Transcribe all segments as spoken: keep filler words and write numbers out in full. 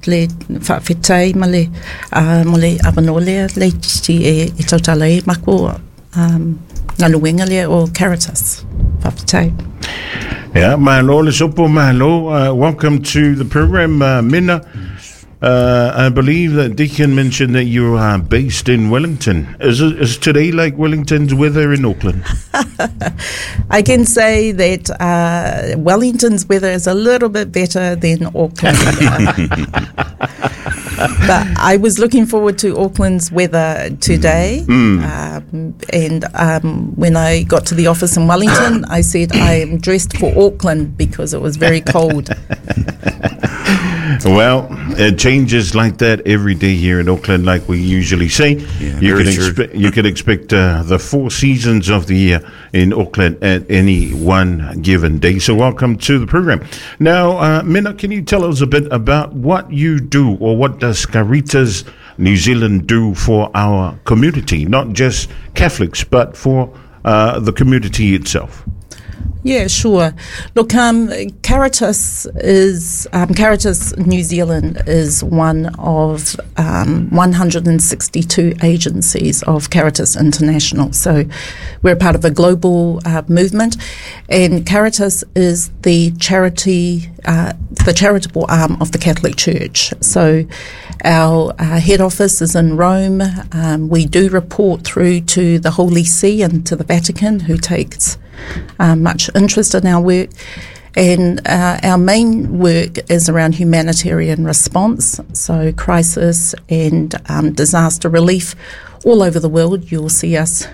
le faafetai ma le uh, mo le avanoa lea leiti e, e tautala ai makou um, galuega lea o Caritas. Faafetai. Yeah, malo le sopo malo. Uh, welcome to the program, uh, Minna. Uh, I believe that Deacon mentioned that you are based in Wellington. Is, it, is today like Wellington's weather in Auckland? I can say that uh, Wellington's weather is a little bit better than Auckland. But I was looking forward to Auckland's weather today. Mm. Um, and um, when I got to the office in Wellington, I said I am dressed for Auckland because it was very cold. Well, it changes like that every day here in Auckland, like we usually say. Yeah, you very can true. expect you can expect uh, the four seasons of the year in Auckland at any one given day. So, welcome to the program. Now, uh, Minna, can you tell us a bit about what you do, or what does Caritas New Zealand do for our community, not just Catholics, but for uh, the community itself? Yeah, sure. Look, um, Caritas is um, Caritas New Zealand is one of um, one hundred sixty-two agencies of Caritas International. So we're part of a global uh, movement, and Caritas is the charity, uh, the charitable arm of the Catholic Church. So our uh, head office is in Rome. Um, we do report through to the Holy See and to the Vatican, who takes Uh, much interest in our work, and uh, our main work is around humanitarian response, so crisis and um, disaster relief all over the world. You'll see us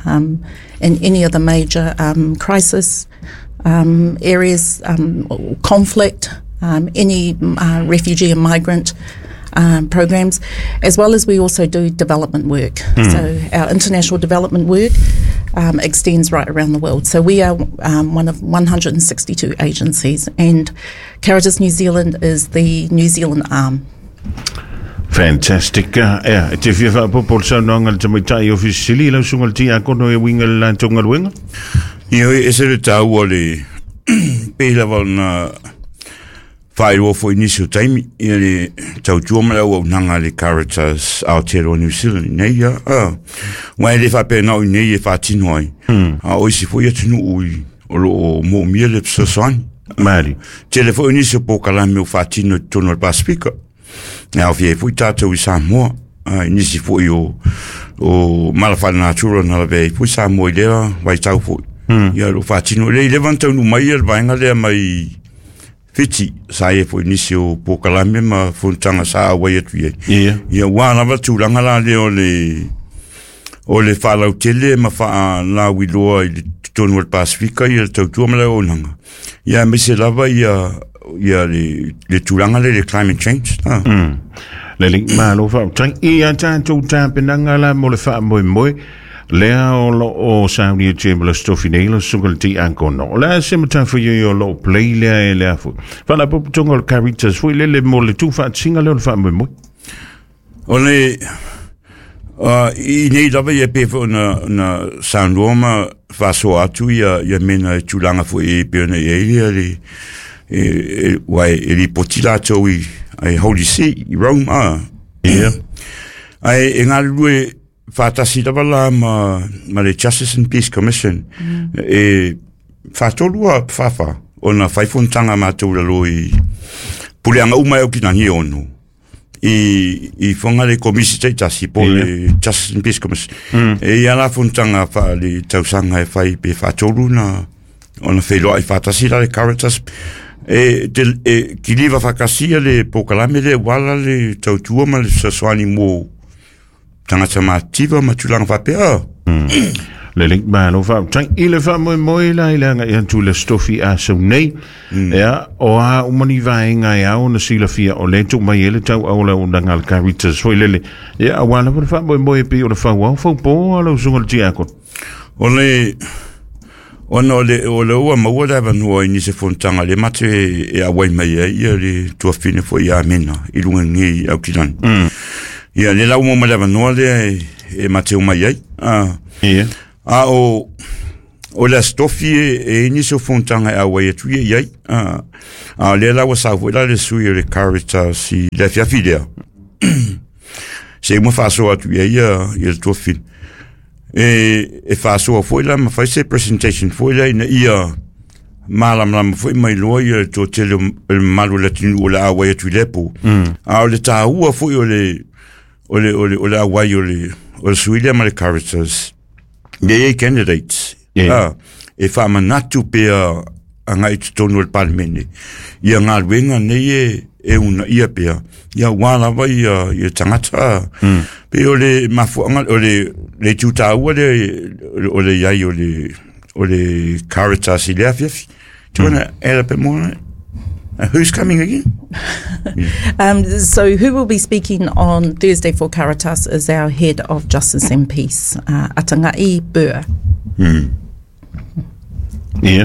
um, in any of the major um, crisis um, areas, um, conflict, um, any uh, refugee and migrant Um, programs, as well as we also do development work. Mm. So our international development work um, extends right around the world. So we are um, one of one hundred sixty-two agencies, and Caritas New Zealand is the New Zealand arm. Fantastic. Uh, yeah, te fia faapopo le saunoaga le tamaitai ofisi sili lau suga le tiakono e uiga le latou galuega. Ia e se le taua le pei lava ona whaeroa fo nisi o taimi, ia le tautua ma le auaunaga le Caritas Aotearoa New Zealand nei ia. Ah, wa e le faapena o i nei e faatino ai. Mm. A o isi foi atunuu i o loo moomia le fesoasoani. Mari. Tele foi nisi o polokalame o faatino i totonu o le Pasifika. E aofia ai foi tatou i Samoa. Ah, i nisi foi o, o mala faalenatura na lavea ai foi Samoa i lea vaitau foi. Mm. Ia lo faatino. Le i leva na taunuu mai ia le vaega lea mai Fiti, sa ia foi nisi o polokalame ma fonotaga sa auai atu i ai. Yeah. Ia ua lava tulaga la lea o le o le faalautele ma faalauiloa i le totonu o le Pasifika ia le tautua ma le auaunaga. Ia aemaise lava ia ia le, le tulaga lea le climate change. Ah. Mm. Lelei, malo faafetai. Ia tatou tapenaga la mo le faamoemoe lea o loo saunia ma le stofi nei la suga le tiakono. O le a se matafaioi o loo play lea e lea foi faalapotopotoga o le Caritas foi lele mo le tuufaatasiga lea o le faamoemoe. O le uh, i nei lava ia pe foi ona ona saunoa ma faasoa atu ia ia mena e tulaga foi e pei ona i ai ia le e, e, ua e, e lipoti latou i ai Holy See i Rome. Ah. Yeah. Ai e galulue faatasi lava la ma, ma le Justice and Peace Commission. Mm. E faatolu a faafa ona fai fonotaga matou lalo i puleaga uma e aukilagi e ono i, i foga le komisi taitasi po Yeah. le Justice and Peace Commission. Mm. E ia la fonotaga faale tausaga e fai pe faatolu na ona feiloai faatasi la le Caritas. E, te, e kiliva faakasia le polokalame lea ua ala le tautua ma le fesoasoani mo tagata matitiva ma tulaga faapea. Mm. Lelei, malo faafetai i le faamoemoe la i le agaʻi atu le stofi a sau nei. Mm. Ia, o a uma ni vaega e ao na silafia o le tuu mai e le tauau le auaunaga a le Caritas foi lele. Ia, auā lava le faamoemoe e pei o le fauao faupō a lau suga le tiakono. O le ona o le o le ua maua le avanoa i nisi fonotaga le mate e auai mai ai ia le tuafine foi ia Mena i luga nei Aukilani. Mm. Ia le lau mo ma le avanoa lea e, e mate o mai ai. Ah. Yeah. A o O le astofi e, e nisi o fonotaga e auai atu ia i ai. A, a lea la ua sau foi la le sui o le Caritas i le afiafi lea. Se uma faasoa atu i ai ia, ia le tofi. E, e faasoa foi la ma fai se presentation foi lea ina ia malamalama foi mai loa ia le toatele o le mamalu o le atunuu o le auai atu i lea po. A o le tāua foi o le o le o le o le auai o le o le sui lea ma le Caritas. Ia i ai candidates. Yeah. Ah, e faamanatu pea agai i totonu o le Palemene. Ia galuega nei e e uunaia pea. Ia ua lava ia ia tagata. Mm. Pe o le mafuaaga o le le itu tāua le o le iai o le o le Caritas i le afiafi. Do you want to add a bit more on it? Uh, who's coming again? Um, so, who will be speaking on Thursday for Caritas is our head of Justice and Peace, uh, Atangai Burr. Yeah.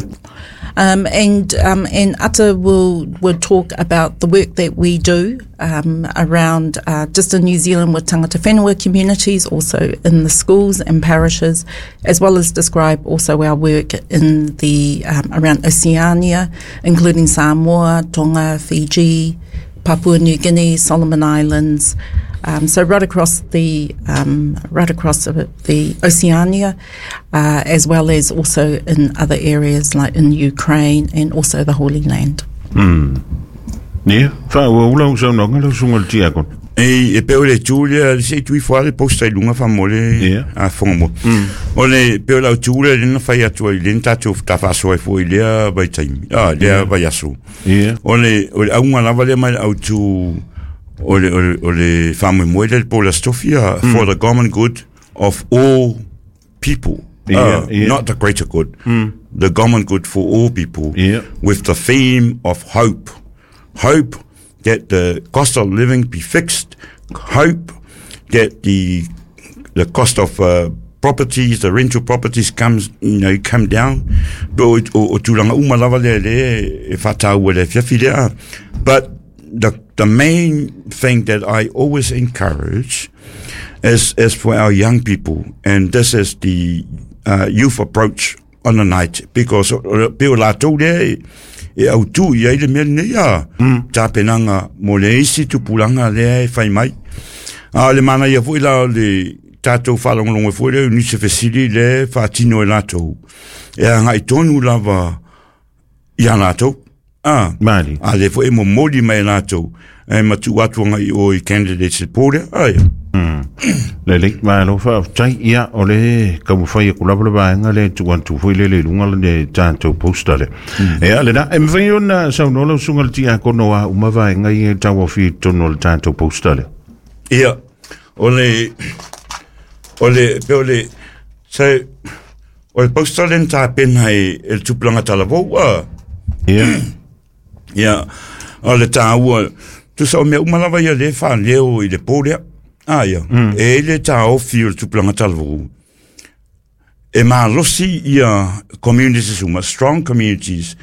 Um, and um, and Ata will will talk about the work that we do um, around uh, just in New Zealand with tangata whenua communities, also in the schools and parishes, as well as describe also our work in the um, around Oceania, including Samoa, Tonga, Fiji, Papua New Guinea, Solomon Islands. Um, so right across the um, right across the, the Oceania, uh, as well as also in other areas like in Ukraine and also the Holy Land. Ia, faaauau lau saunoaga lau susuga le tiakono. E, e pe o le tu lea, le se tui fua le posta i lunga whamole Yeah. a whonga mo. O le pe o lau tu lea lena whai atu ai lena tātou ta whaasoa e fua i lea vai taimi. Ah, lea vai aso. Ia. O le, o le aunga lava lea mai le au tu o le, o le, o le whamoemoe lea le Paula Stofia for the common good of all people. Yeah, Ah, yeah. Not the greater good. The common good for all people. Yeah. With the theme of hope. Hope that the cost of living be fixed. Hope that the the cost of uh, properties, the rental properties comes, you know, come down. O, o, o tulaga uma lava lea lea e whātāua le fiafi lea. But the, the main thing that I always encourage is, is for our young people, and this is the uh, youth approach on the night, because o pe o lātou lea e, e au tu i ai le mea lenei a tapenaga mo le isi tupulaga lea e fai mai. A o le manaia foi la o le tatou faalogologo foi lea o nisi fesili le faatino e latou. E agai tonu lava ia latou. Ah, Mali. a le foi e momoli mai e latou. E matu atu agai o i candidates e pō lea. Aia. Lelei, malo faafetai. Ia, o le taumafai aku lava le vaega le tuu atu foi le le luga le tatou poster lea. Ia, lena, e mafai ona saunoa lau susuga le tiakono a uma vaega ia e tauaofia i totonu o le tatou poster lea. Ia, o le, o le, pe o le, se, o le poster lea na tapena e, e le tupulaga talavou, a. Ia, Ia, o le tāua, tusa o mea uma lava ia le whaaleo i le pō lea. Ah, ia, e le tāofi o le tupulaga talavou. E malosi ia communities uma, strong communities,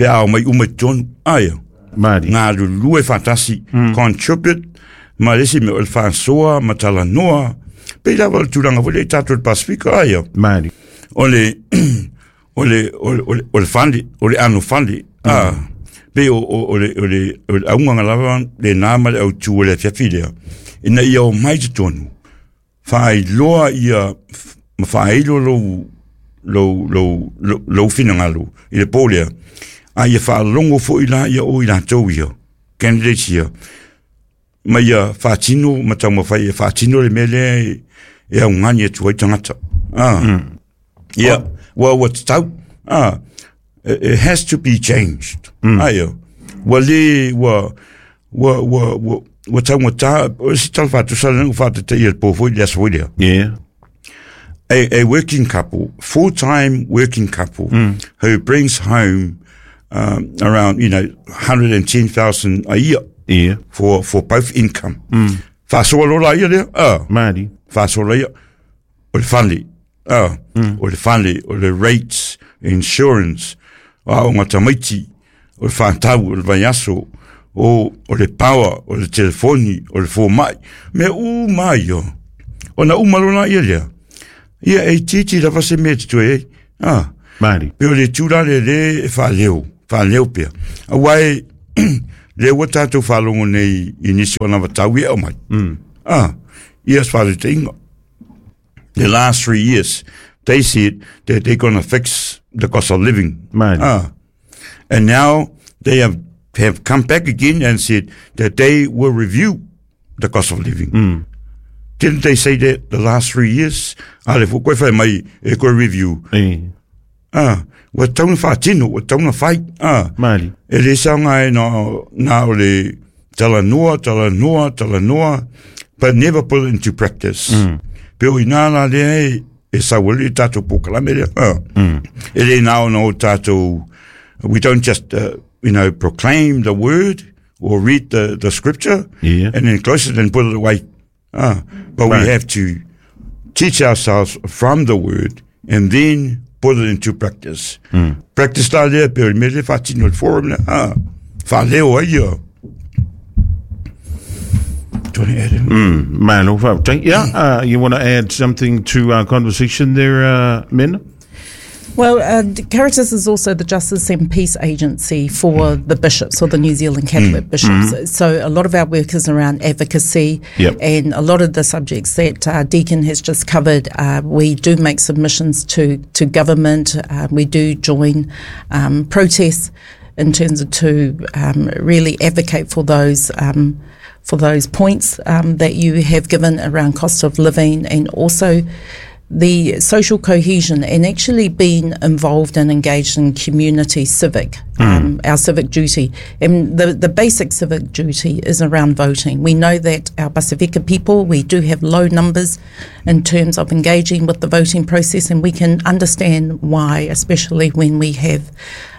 pe a o mai uma i tonu. Ah, ia. mali. Ngā lulue whātasi, contribute, ma le isi mea o le whāsoa, ma talanoa, pe lava o le tulaga foi le tātou le Pasifika, ah, ia. Mali. O le, o le, o le, o le, o le fale, o le ano fale, ah, pe o, o, o le, o le, o le aunganga lava le nā ma le autu o le afiafi lea. Ina ia o mai totonu, whaailoa ia, ma whaailo lou, lou, lou, lou, lou finangalo i le pō lea. A ia whaalongo foi la ia o i lātou ia, candidates ia. Ma ia whaatino, ma taumafai e whaatino le mea lea e, e augani atu ai tagata. Ah. Yeah. Well, what's tau? Ah, it, it has to be changed. Mm. Aia. Ua le, ua, ua, ua, ua, ua taugata, o se tala whaatusa le whaatate i le pō foi le aso foi lea. Ia. A, a working couple, full-time working couple, who brings home um, around, you know, one hundred ten thousand a year Ia. for, for both income. Mm. Whaasoa lola ia lea? Ah. Mali. Whaasoa ia. O le fale. Ah. O le fale, o le rates, insurance, a o ngā tamaiti, o le whātau, o le vaiaso, o, o le power, o le telefoni, o le fōmai. Mea u mai o. O na uma lona ia lea. Ia e titi lava se mea te toe ei. Ah. Maali. Pe o le tula le le e whaaleo, whaaleo pia. A wai, le ua tātou whaalongo nei i nisi o na watau e au mai. Mm. Ah, ia swale te inga. The last three years, they said that they're going to fix the cost of living. Maali. Ah. And now they have, have come back again and said that they will review the cost of living. Mm. Didn't they say that the last three years? Ah, le fo koe whai mai e koe review. E. Ah, ua tauna whaatino, ua tauna whai. Ah, Maali. e le saunga e na, na o le talanoa, talanoa, talanoa, but never put it into practice. Mm. Pe o ina la lea e, e sawali i tātou pōkalame lea. Ah. Mm. E le nao na o tātou, we don't just, uh, you know, proclaim the word or read the, the scripture Yeah. and then close it and put it away. Ah, but Right. we have to teach ourselves from the word and then put it into practice. Mm. Practice la lea, pe o le mele whaatino le forum lea. Ah, whaaleo ai ia. Do you want to add in? Mm. Malo whautai. Yeah, uh, you want to add something to our conversation there, uh, Mena? Well, uh, Caritas is also the Justice and Peace Agency for the bishops, or the New Zealand Catholic bishops. So a lot of our work is around advocacy, Yep. and a lot of the subjects that uh, Deacon has just covered, uh, we do make submissions to, to government. Uh, we do join um, protests in terms of to um, really advocate for those um, for those points um, that you have given around cost of living, and also the social cohesion, and actually being involved and engaged in community civic, um, our civic duty. And the, the basic civic duty is around voting. We know that our Pasifika people, we do have low numbers in terms of engaging with the voting process, and we can understand why, especially when we have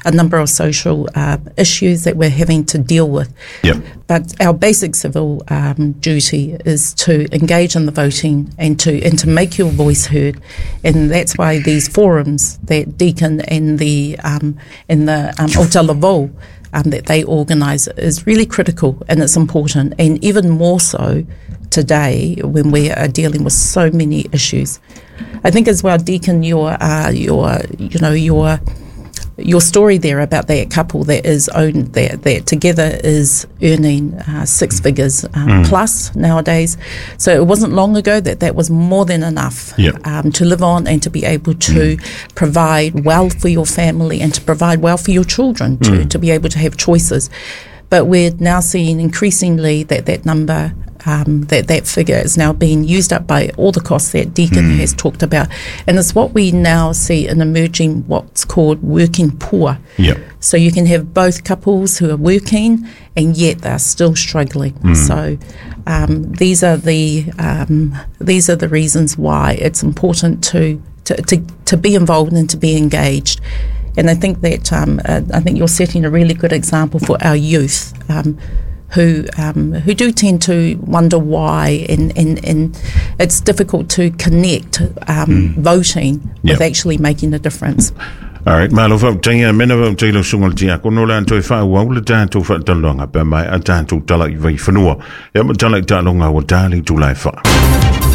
a number of social uh, issues that we're having to deal with. Yep. But our basic civil um, duty is to engage in the voting and to and to make your voice heard, and that's why these forums that Deacon and the um, and the um, Autalavou, um, that they organise is really critical, and it's important, and even more so today when we are dealing with so many issues. I think as well, Deacon, your uh, your you know your your story there about that couple that is owned that that together is earning uh, six figures um, plus nowadays. So it wasn't long ago that that was more than enough Yep. um, to live on and to be able to provide well for your family and to provide well for your children to, to be able to have choices. But we're now seeing increasingly that that number, um, that that figure is now being used up by all the costs that Deacon has talked about. And it's what we now see in emerging what's called working poor. Yep. So you can have both couples who are working and yet they're still struggling. So um, these are the um, these are the reasons why it's important to, to, to, to be involved and to be engaged. And I think that um, uh, I think you're setting a really good example for our youth, um, who um, who do tend to wonder why, and, and, and it's difficult to connect um, voting Yep. with actually making a difference. All right, malo whautai, uh, mena whautai lau sunga le tia, kono la antoi wha au le tātou whaataloanga, pe mai a tātou tala i vai whanua. Ia ma tala i tālonga wa tāli tūlai wha.